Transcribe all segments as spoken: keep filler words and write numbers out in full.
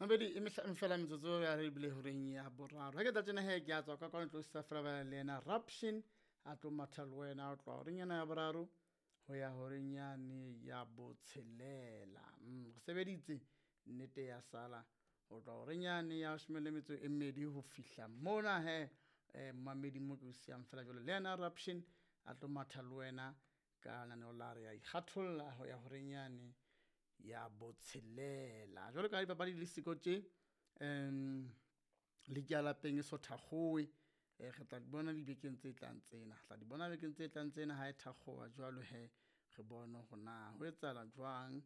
Mabedi e mehlano fela metsotso ya re bile horeng ya boraro. Ha ke tla tjena he ke a tswa ka kwano tlo sa fela ba le yena Raption a tlo matha le wena o tloha horeng ena ya boraro ho ya horeng yane ya botshelela. Mm, re sebeditse nnete ya sala ho tloha horeng yane ya leshome le metso e mmedi ho fihla mona he eh, mmamedi mo ke o siyang fela jwalo le yena Raption a tlo matha le wena ka lenaneo la re ya ikgatholla ho ya horeng yane ya botshelela. Jwalo ka ha dipapadi di le siko tje um league ya lapeng e so thakgowe, eh, re tla di bona dibekeng tse tlang tsena, re tla di bona bekeng tse tlang tsena ha e thakgowa jwalo he re bone hore na ho etsahala jwang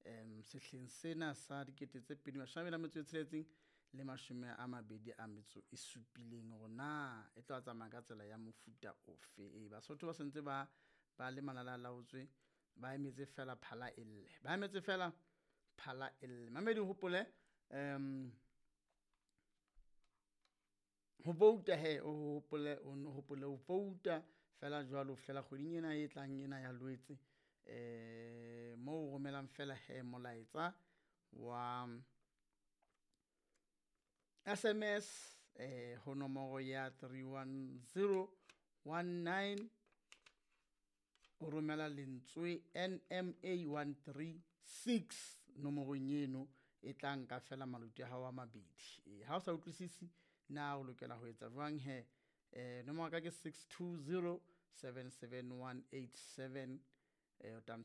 um sehleng sena sa dikete tse pedi mashome a mabedi a metso e tsheletseng le mashome a mabedi a metso e supileng hore na e tla tsamaya ka tsela ya mofuta ofe. Ee, Basotho ba sentse ba ba le malalalaotswe, ba emetse fela phala e lle, ba emetse fela phala e lle. Mamedi o hopole um ho vouta he o hopole o nno hopole ho vouta fela jwalo ho fihlela kgweding ena e tlang ena ya Lwetse. Eh moo o romelang fela he molaetsa wa S M S eh ho nomoro ya three one zero one nine, o romela lentswe N M A one three six nomorong eno e tla nka fela maluti a hao a mabedi. Eh, ha o sa utlwisisi na o lokela ho etsa jwang he, eh, nomoro ya ka ke six two zero seven seven one eight seven, eh, o tla